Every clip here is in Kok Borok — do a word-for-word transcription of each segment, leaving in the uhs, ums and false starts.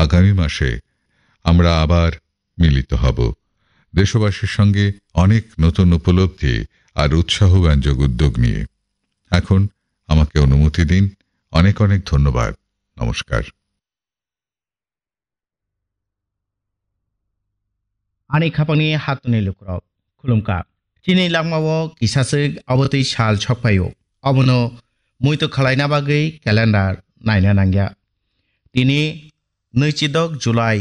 আগামী মাসে আমরা আবার মিলিত হব দেশবাসীর সঙ্গে অনেক নতুন উপলব্ধি আর উৎসাহব্যঞ্জক উদ্যোগ নিয়ে। এখন আমাকে অনুমতি দিন। অনেক অনেক ধন্যবাদ। নমস্কার। Ani khapangni hatuni lukurok, khulumkha. Chini langmao kisaswk abotwi sal sokphaio. Obono muitu khwlaina bagwi calendar naina nangya. Tini nwichidok July,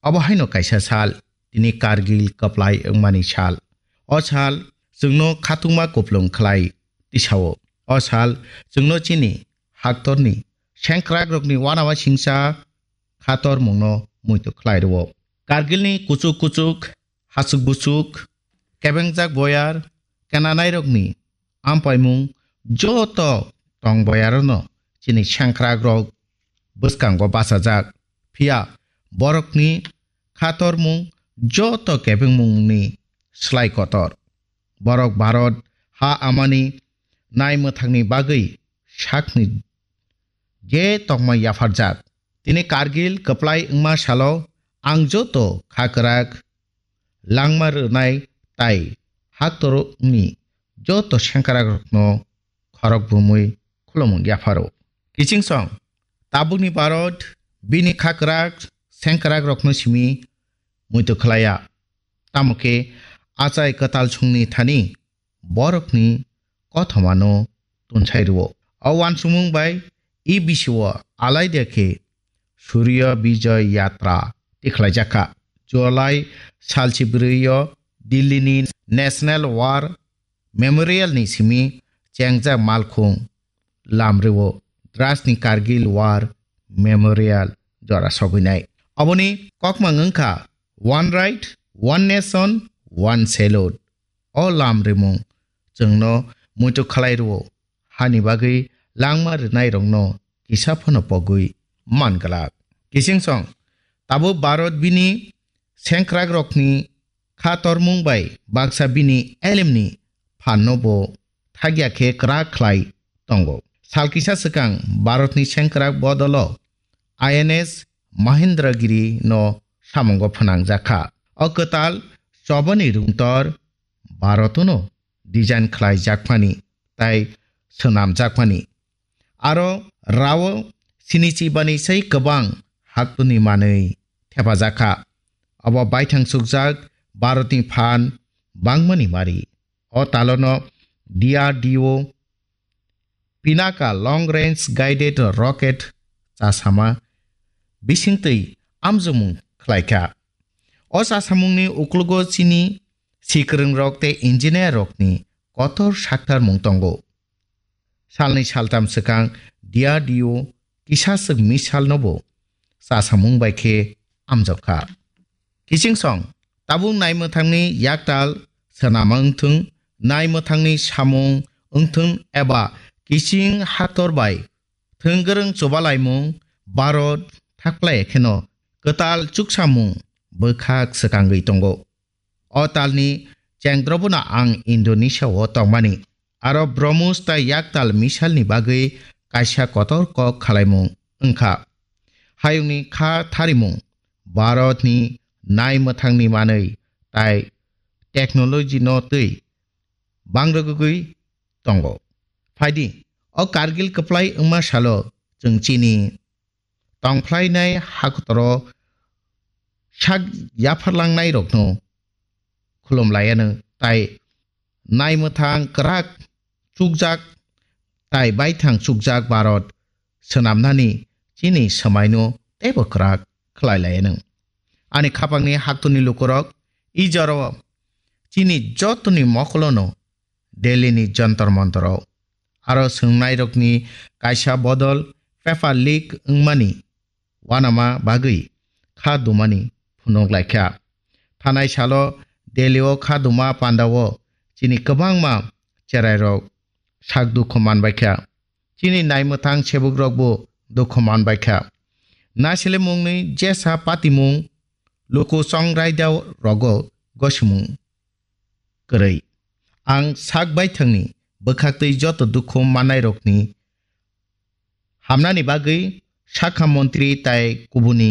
obo haino kaisa sal, tini Kargil kwplai wngmani sal. O sal chwngno khatungma kuplung khlai tisao. O sal chwngno chini haktorni sengkrakrokni uanama singcha khatormungno muitu khlai rwo. Kargilni kuchuk kuchuk, hachuk buchuk, kebengjak boyar, kenanairokni ampaimung joto tong boyarono chini sengkrakrok bwskango bachajak. Phiya borokni khatormung joto kebengmungni slai kotor. Borok Bharat ha amani nai mwthangni bagwi sakni je tongma yapharjak. Tini Kargil kwplai wngma salo ang joto kha kwrak langma rwnai tai haktorokni joto sengkrakrokno khorok bumui khulumung yapharo. Kichingsong, tabukni Bharat bini kha kwrak sengkrakrokno simi muitu khlaiya. Tamo khe achai kwtal songni thani borokni kothomano tunsai rwo. O uansukmung bai e bisio alaida khe Surya Vijay Yatra tikhlaijakha. July salchi brwi o Delhi ni National War Memorial ni simi chengjak malkhung lamreo Dras ni Kargil War Memorial jora sogwinai. Aboni kokmang wngkha One Right, One Nation, One Salute. O lamrimung chwngno muitu khlai rwo, hani bagwi langma rwnairokno kisa phano pogwi man glak. Kichingsong, tabuk Bharat bini sengkrakrokni kha tormung bai baksa bini elemni phanno bo thagya khe kwrak khlai tongo. Sal kisa swkang Bharatni sengkrak bodolo I N S Mahendragiri no samungo phwnangjakha. O kwtal chobani rungtor Bharatno design khlai jakmani tai swnam jakmani. Aro rao sinichi bani sai kwbang haktuni manwi thepajakha. Abo baithang sukjak Bharatni phan bangmani mari. O talono D R D O Pinaka Long Range Guided Rocket chasama bisingtwi amjokmung khlaikha. O chasamungni uklogo chini sikwrwngrok tei engineer rokni kotor saktarmung tongo. Salnwi saltam swkang D R D O kisaswk missile no bo chasamung bai khe amjokha. Kichingsong, tabuk naimwthangni yaktal swnama wngthung, naimwthangni samung wngthung eba kiching haktor bai thwngwrwng chubalaimung Bharat thaklai kheno kwtal chuksamung bwkhak swkangwi tongo. O talni chengdrobono ang Indonesia o tongmani. Aro Brahmos tai yaktal missile ni bagwi kaisa kotor kok khalaimung wngkha. Hayungni kha tharimung Bharatni naimwthangni manwi tai technology no twi bangrwgwi tongo. Phaidi, o Kargil kwplai wngma salo chwng chini tongphlainai hakotoro sak yapharlangnairokno khulumlaianw tai naimwthang kwrak chukjak tai baithang chukjak Bharat swnamnani chini swmaino teibo kwrak khlailaianw. Ani khapangni haktuni lukurok, i jorao chini jotoni mokolono Delhi ni Jantar Mantar o. Aro swngnairokni kaisa bodol paper leak wngmani uanama bagwi kha dumani phunuk laikha. Thanai salo Delhi o kha duma panda o chini kwbangma cherairok sak dukhu manbaikha. Chini naimwthang sebukrokbo dukhu manbaikha. Nasilimungni jesa patimung luku chongraida rogo gosimung kwrwi. Ang sak baithangni bwkhaktwi joto dukhu mannairokni hamnani bagwi sakha montri tai kubuni